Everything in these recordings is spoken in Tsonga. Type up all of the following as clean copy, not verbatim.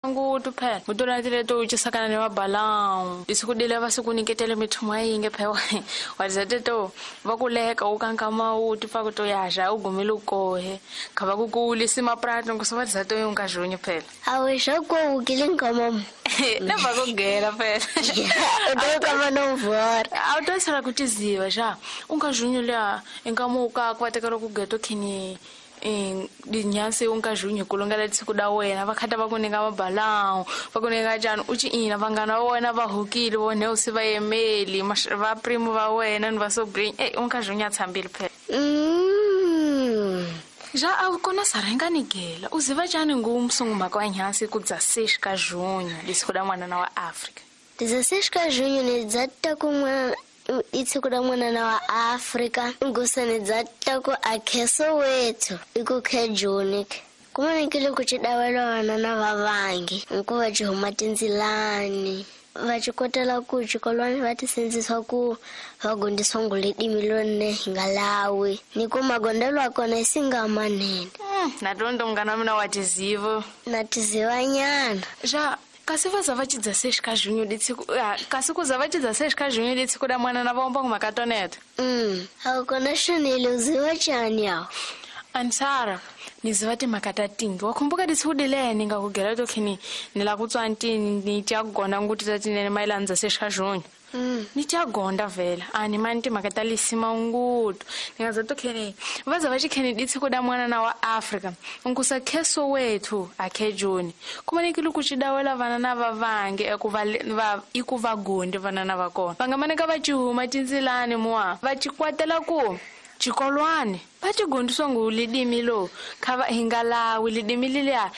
Ngutu phela mutolatile to ucisakana ni vabalau isikudile vasikuniketele mithumu yinge phela wazete to vakuleka ukankama uti fa to yaja ugumile ukohe khava kukulisa maprato nkusovatiza to yungazhunyu phela awisha kuwukile nkamam neva kugela phela utokama nomvora awutoisela kutiziva xa ungazhunyu lya inkamuka kuvatekela kugeto khini dinyase unkazhunyu kulongela tsikuda wena vakhata va ku nyika mabalau va ku nyika njhani u ci ina vanghana va wena va hukile vone u si va yemeli va primo va wena ni va sobrini e unkazhunyu a tshambile phela ja a kona sarenga ni gela u ziva njhani ngumsungumhaka wa nyhansi ku dza 6 ka junho lisiku da n'wanana wa Afrika dza 6 ka junho ni dza ta ku n'wana itsiku ra n'wanana wa Afrika ngusani dza ta ku akheso wethu iku khe juni kumanekile ku cidawela vanana va vangi nkuva ci huma tindzilani va ci kotela ku xikolwani va ti sindzisa ku va gondiswa nguledimi lonne hi nga lawi ni ku magondelo ya kona i singa manene na tondo munghana wa mina wa tiziva na tizivanyana ja kasi va za va cidza 6 ka junho ditsiku kasi ku za va cidza 6 ka junho ditsiku da mwanana va omba ngumhaka toneto a kona xonile u ziva njhani yawo ansara ni ziva timhaka ta tingi wa khumbuka ditsiku dileni ni nga ku gela to khini ni la ku tswa ntini ni tya gonda nguti ta tinene mayelana dza 6 ka junho ni tya gonda vhela a ni mani timhaka ta lisima ngutu ni nga za to kheni va za va xikheni ditsiku da mwanana wa Afrika nkusa kheso wethu akhe joni kumanekile ku cidawela vanana va vange i ku va gondi vanana va kona va nga maneka va cihuma tindzilani muwa va cikwatela ku xikolwani va ti gondiswa ngu lidimi lo kha va hi nga lawi lidimi leliya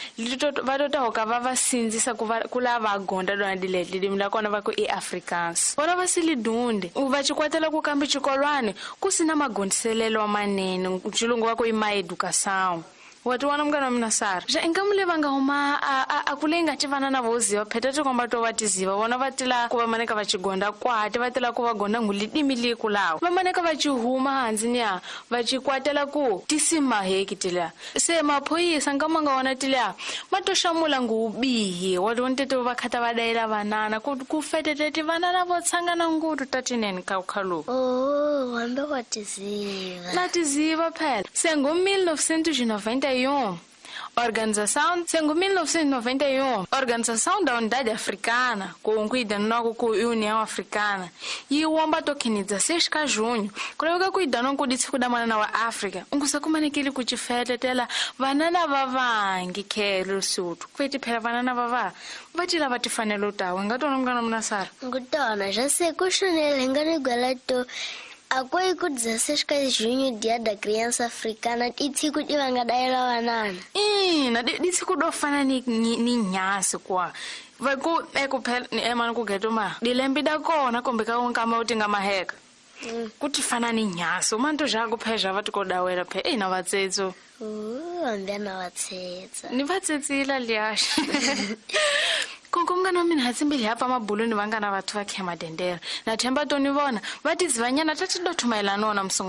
va tota hoka va va sindzisa ku va ku lava gonda lona dile lidimi la kona va ku i Afrikaans vona va si lidunde va cikwatela ku kambe xikolwani ku sina magondiselelo manene xilungu va ku i maeducação wa ti vona munghana wa mina Sara ja ingamu le va nga huma a ku leyi nga ti vana na voziva pheta tikomba to va tiziva vona va tila ku va maneka va cigonda kwati va tila ku va gonda ngu lidimi li ku lawa va maneka va cihuma hansi niya va cikwatela ku tisimaheki tila se maphoyisa nkama nga wona tila ma to xamula ngu bihi wa ti vona teto va khata va dayela vanana ku fetete vanana vo tshangana ngutu ta tinene ka khalo oh hambe wa tiziva na tiziva phela se ngo 1991 Organização, segundo 1991, Organização da Unidade Africana, com cuidando com a União Africana, e o omba tokini 16 ka junho, kulaveka kuidano ku ditsiku da mwanana wa Afrika, ungusa kumanekile ku cifetetela vanana va vangi khelo Sotho, kweti phela vanana va va va ti lava tifanelo tawe nga tona munghana mina Sara ngutona ja se ku xonele nga ni gwela to akoi ku 16 ka junho dia da criança africana itsiku di vanga dayela vanana ina ditsiku do fana ni nyasi kwa va ku eku phela ni emana ku geto ma dilembi da kona kombe ka nkama uti nga maheka ku ti fana ni nyasi umanto ja ku phezha va tikodawela phe ina vatsetso hambe na vatsetsa ni vatsetsila liaxa konko munghana wa mina hatsimbili hapa mabuluni vangana vathu va khema dendera na themba to ni vona va tizivanyana ta ti do thumayelana wona musungu